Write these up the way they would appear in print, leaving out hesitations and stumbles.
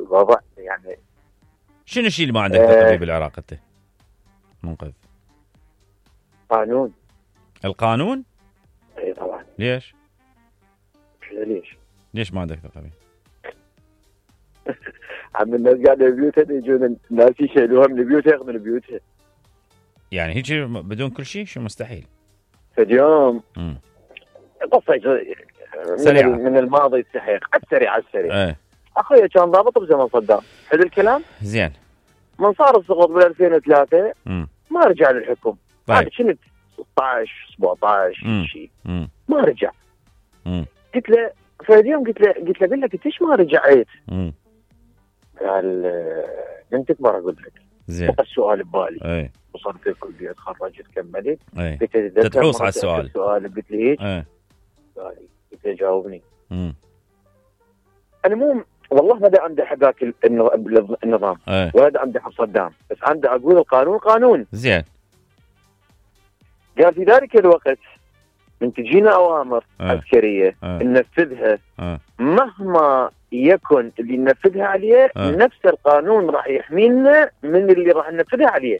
الوضع يعني. شنو الشيء اللي ما عندك ثقة بالعراق انت منقذ؟ قانون. القانون؟ اي طبعا. ليش؟ ليش ما عندك ثقة به؟ عم الناس قاعدة ببيوتها يجون الناس يشيلوها من بيوتها ياخذون بيوتها. يعني هيك بدون كل شيء؟ شو مستحيل. فاليوم قصة سريعة من الماضي السحيق على السريع. ايه. اخويا كان ضابط بزمن صدام، حلو الكلام؟ زين. من صار السقوط بال 2003 ما رجع للحكم. طيب. هذا كنت 16 17 شيء ما رجع. قلت له فاليوم قلت له بالله قلت ليش ما رجعت؟ قال لن تكبر اقول لك. زين. السؤال ببالي. اي. وصلت الكلية تخرجت كملت. قلت له تحوص على السؤال. قلت لي هيك؟ قلت له جاوبني. انا مو والله ما دا امدح هذاك النظام ولا دا امدح صدام، بس عندي اقول القانون قانون. زين. قال في ذلك الوقت من تجينا اوامر عسكريه ننفذها مهما يكن اللي ننفذها عليه نفس القانون راح يحمينا من اللي راح ننفذها عليه.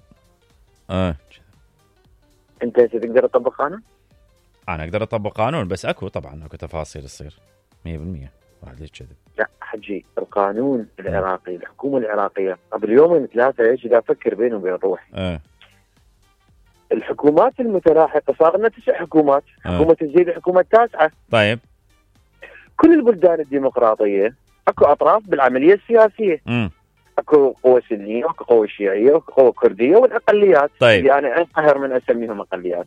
انت تقدر تطبق قانون؟ انا اقدر اطبق قانون، بس اكو تفاصيل تصير 100%. واحد ليش كذب؟ لا حجي، القانون العراقي الحكومه العراقيه قبل يومين ثلاثه ايش اذا افكر بيني وبين روحي. الحكومات المتلاحقه صار لنا 9 حكومات. حكومه الزيد الحكومه التاسعه. طيب. كل البلدان الديمقراطيه اكو اطراف بالعمليه السياسيه. اكو قوى سنيه واكو قوى شيعيه واكو قوى كرديه والاقليات. طيب. يعني انقهر من اسميهم اقليات.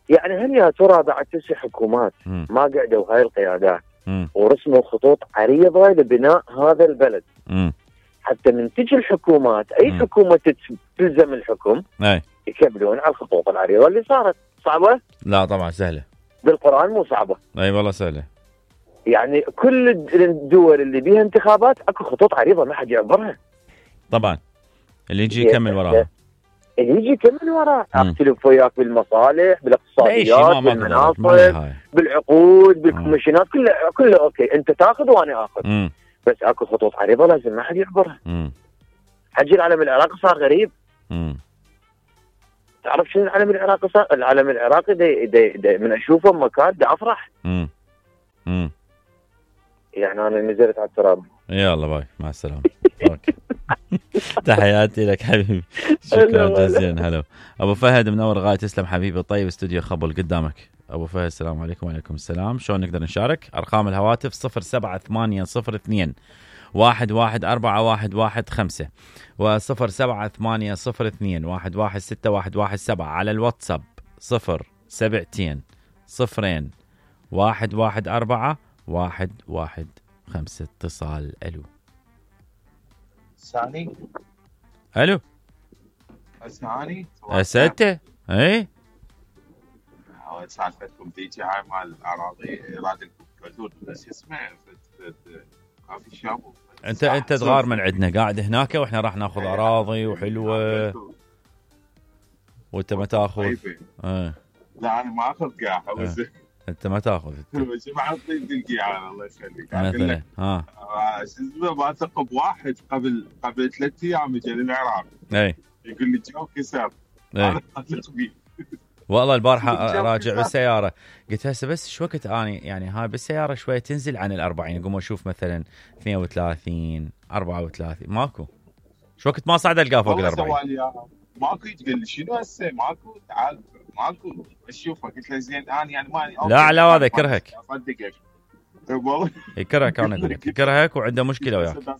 يعني هل يا ترى بعد 9 حكومات ما قعدوا هاي القيادات ورسموا خطوط عريضه لبناء هذا البلد حتى من تجي الحكومات اي حكومه تلزم الحكم يكملون على الخطوط العريضه اللي صارت؟ صعبه؟ لا طبعا سهله. بالقران مو صعبه. اي والله سهله. يعني كل الدول اللي بيها انتخابات اكو خطوط عريضه ما حد يعبرها. طبعا اللي يجي يكمل وراها. اللي يجي يكمل وراها. اختلف وياك بالمصالح بالاقتصاديات بالمناصب بالعقود بالكوميشنات كله اوكي انت تاخذ وانا اخذ. بس اكو خطوط عريضه لازم ما حد يعبرها. حجي العلم العراقي صار غريب. تعرف شنو العلم العراقي صار؟ العلم العراقي دي من اشوفه مكان دا افرح. يعني انا نزلت على التراب. يلا باي مع السلامه. تحياتي لك حبيبي، شكرا جزيلا. هلا ابو فهد منور غاية، تسلم حبيبي. طيب استوديو خبل قدامك ابو فهد. السلام عليكم. وعليكم السلام. شلون نقدر نشارك؟ ارقام الهواتف 07802 114115 و07802 116117 على الواتساب 072 0 114 115. اتصال. الو ساني. الو اسمعني اسئلته. اي سالفتكم تيجي هاي مال الاراضي اراده الحدود بس اسمه كافي شاب. انت تغار من عندنا قاعد هناك واحنا راح ناخذ اراضي وحلوه وانت ما تاخذ. لا انا ما اخذ قاعه. انت ما تاخذ. بس ما عطيت القيعه الله يخليك. مثلا ما ثقب واحد قبل 3 ايام اجى للعراق. اي يقول لي جو كسر. انا اثق بيه والله. البارحه راجع بالسياره قلت هسه بس شو وقت اني يعني هاي بالسياره شويه تنزل عن ال40 اقوم اشوف مثلا 32 34 ماكو. شو وقت ما صعد القاه فوق ال40 ماكو. تقول لي شنو هسه ماكو؟ تعال ماكو اشوفه. قلت له زين انا يعني ماني لا هذا يكرهك. اصدقك والله يكرهك. انا اقول لك يكرهك وعنده مشكله وياك.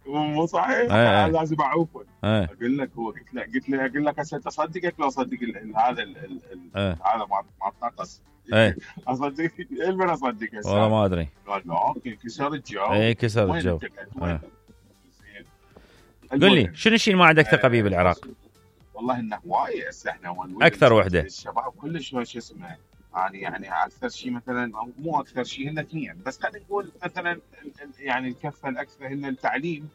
مو صحيح. لازم اعوفه. اقول لك هو قلت له اقول لك هسه اصدقك لو اصدق هذا هذا ما تنقص. اصدق من اصدق هسه والله ما ادري. قال لا اوكي كسر الجو. اي كسر الجو. قل لي شنو الشيء ما عندك ثقه به بالعراق؟ والله انه وايد هسه احنا اكثر وحده الشباب كلش شو اسمه يعني اكثر شيء مثلا مو اكثر شيء هن 2 بس خلينا نقول مثلا يعني الكفه الاكثر هن التعليم.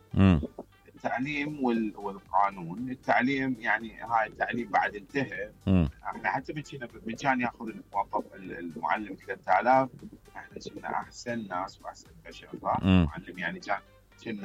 التعليم والقانون. التعليم يعني هاي التعليم بعد انتهى. احنا حتى من كان ياخذ المعلم 3000 احنا كنا احسن ناس واحسن بشر. معلم يعني كان